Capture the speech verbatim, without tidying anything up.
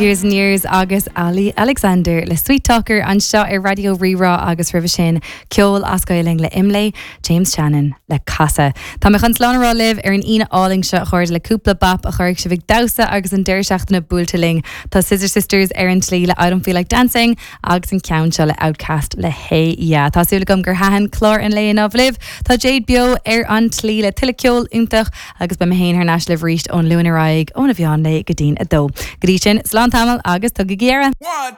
Years and Years agus Olly Alexander le Sweet Talker anseo ar Raidió Rí-Rá agus roimhe sin ceol as Gaeilge le Imlé James Shannon le Casadh. Tá mé chun slán a rá libh ar an Aoine álainn seo chuir le cúpla bap a chuirfidh sibh ag damhsa agus an deireadh seachtaine buailte linn. Tá Scissor Sisters ar an tslí le I don't feel like dancing agus an ceann seo le Outkast le Hey Ya. Tá súil agam gur thaitin clár an lae inniu libh Tá Jade beo ar an tslí le tuilleadh ceol iontach agus beidh mé féin thar n-ais libh arís ón Luan ar aghaidh óna mheán lae go dtí'n a dó. Go dtí sin slán tamall agus tugaigí aire. One,